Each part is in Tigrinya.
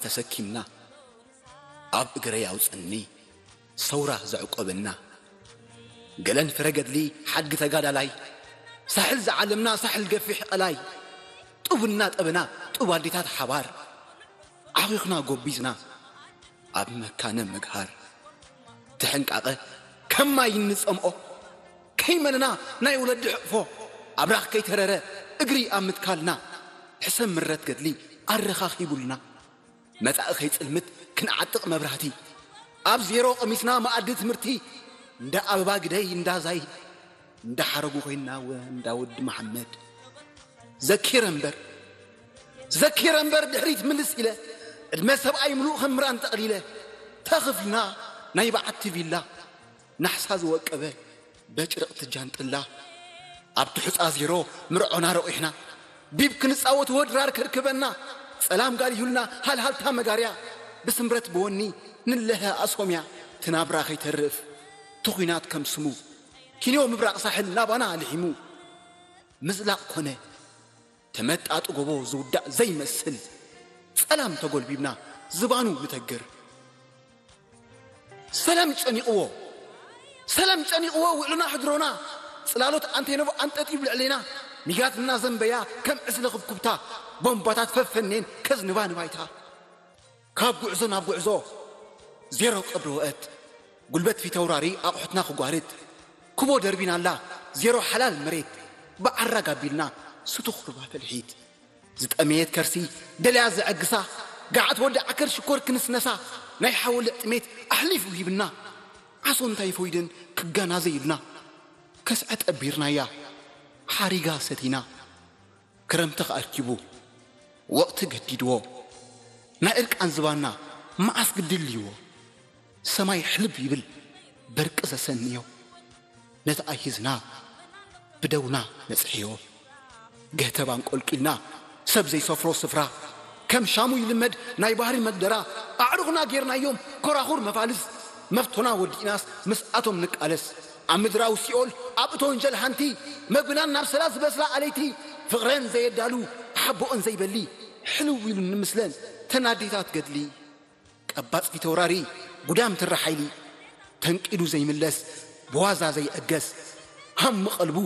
ተሰኪምና፣ ኣብ እግረይ ኣውጽኒ ሰውራ ዘዕቆበና፣ ገለን ፍረ ገድሊ ሓድጊ ተጋዳላይ፣ ሳሕል ዝዓለምና ሳሕል ገፊሕ ቀላይ፣ ጡብና ጠበና ጡብ ኣዴታት ሓባር፣ ዓኺኽና ጎቢዝና ኣብ መካነ መግሃር። ተሕንቃቐ ከም ማይ እንጸምኦ፣ ከይመነና ናይ ወለዲ ሕቕፎ፣ ኣብራኽ ከይተረረ እግሪ ኣብ ምትካልና፣ ሕሰም ምረት ገድሊ ኣረኻኺቡልና። መጻኢ ከይጽልምት ክንዓጥቕ መብራህቲ፣ ኣብ ዜሮ ቀሚስና መኣዲ ትምህርቲ፣ እንዳ ኣበባ ግደይ እንዳ ዛይ፣ እንዳ ሓረጉ ኮይንና ወ እንዳ ወዲ መሓመድ። ዘኪረ እምበር፣ ዘኪረ እምበር ድሕሪት ምልስ ኢለ፣ ዕድመ ሰብኣይ ምሉእ ከም ምራን ጠቕሊለ፣ ተኽፍልና ናይ በዓቲ ቪላ፣ ናሕሳ ዝወቀበ በጭርቕቲ ጃንጥላ፣ ኣብ ትሑጻ ዜሮ ምርዖና ረቑሕና፣ ቢብ ክንጻወት ወድራር ከርክበና፣ ጸላም ጋል ይሁልና ሃልሃልታ መጋርያ፣ ብስምረት ብወኒ ንለሀ ኣሶምያ፣ ትናብራ ከይተርፍ ትኹናት ከም ስሙ፣ ኪንዮ ምብራቕ ሳሕል ናባና ልሒሙ። ምዝላቕ ኮነ ተመጣጢ ጎቦ ዝውዳእ ዘይመስል፣ ጸላም ተጎልቢብና ዝባኑ ንተግር። ሰላም ጨኒቕዎ፣ ሰላም ጨኒቕዎ ውዕልና ሕድሮና፣ ጽላሎት ኣንቴኖቭ ኣንጠጢብ ልዕሌና፣ ሚጋትና ዘንበያ ከም ዕስለ ክብኩብታ፣ ቦምባታት ፈፈኔን ከዝንባ ንባይታ። ካብ ጉዕዞ ናብ ጉዕዞ፣ ዜሮ ቀብሪ ወእት፣ ጉልበት ፊተውራሪ ኣቑሑትና ክጓርት፣ ክቦ ደርቢናላ፣ ዜሮ ሓላል መሬት፣ ብዓራግ ኣቢልና፣ ስቱኽ ሩባ ፈልሒት። ዝጠመየት ከርሲ ደልያ ዘዐግሳ፣ ገዓት ወዲ ዓከር ሽኮር ክንስነሳ፣ ናይ ሓወልዕ ጥሜት ኣሕሊፉ ሂብና። ዓሶ እንታይ ፎይደን ክጋና ዘይብልና፣ ከስዐ ጠቢርናያ፣ ሓሪጋ ሰቲና። ክረምቲ ከኣርኪቡ፣ ወቕቲ ገዲድዎ፣ ናይ እርቃን ዝባና መዓስ ግድልይዎ። ሰማይ ሕልብ ይብል በርቂ ዘሰንዮ፣ ነቲ ኣይሂዝና ብደውና ነጽሕዮ። ገህተብ ኣንቆልቂልና ሰብ ዘይሰፍሮ ስፍራ፣ ከም ሻሙ ይልመድ ናይ ባህሪ መግደራ። ኣዕሩኽና ጌርናዮም ኮራኹር መፋልስ፣ መፍቶና ወዲእናስ ምስኣቶም ንቃለስ። ኣብ ምድራዊ ሲኦል ኣብ እቶ ወንጀል ሓንቲ፣ መግብናን ናብ ሰላ ዝበስላ ኣለይቲ፣ ፍቕረን ዘየዳሉ ሓቦኦን ዘይበሊ፣ ሕልው ኢሉ ንምስለን ተናዴታት ገድሊ። ቀባጽ ፊተውራሪ ጉዳም ትሪ ሓይሊ፣ ተንቂዱ ዘይምለስ ብዋዛ ዘይዕገስ፣ ሃም ቀልቡ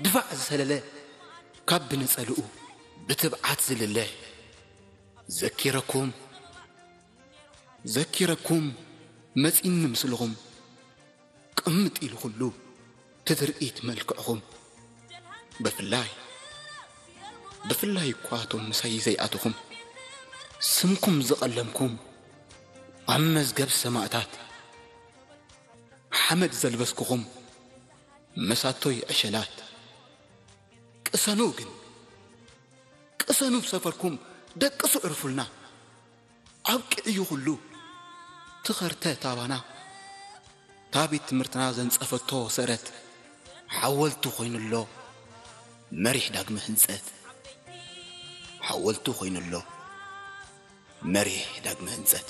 ድፋዕ ዝሰለለ፣ ካብ ብነጸልኡ ብትብዓት ዝልለ። ዘኪረኩም፣ ዘኪረኩም መጺኒ ምስልኹም፣ ቅምጥ ኢሉ ኩሉ ትትርኢት መልክዕኹም። ብፍላይ፣ ብፍላይ እኳ እቶም ምሳይ ዘይኣተኹም፣ ስምኩም ዝቐለምኩም፣ ኣብ መዝገብ ሰማእታት ሓመድ ዘልበስኩኹም፣ መሳቶይ ዕሸላት። ቅሰኑ ግን፣ ቅሰኑ ብሰፈርኩም ደቅሱ ዕርፉልና። ኣብቂዕዩ ኩሉ ትኸርተ ታባና። እታ ቤት ትምህርትና ዘንጸፈቶ ሰረት ሓወልቲ ኮይኑሎ መሪሕ ዳግመ ህንጸት። ሓወልቲ ኮይኑሎ መሪሕ ዳግመ ህንጸት።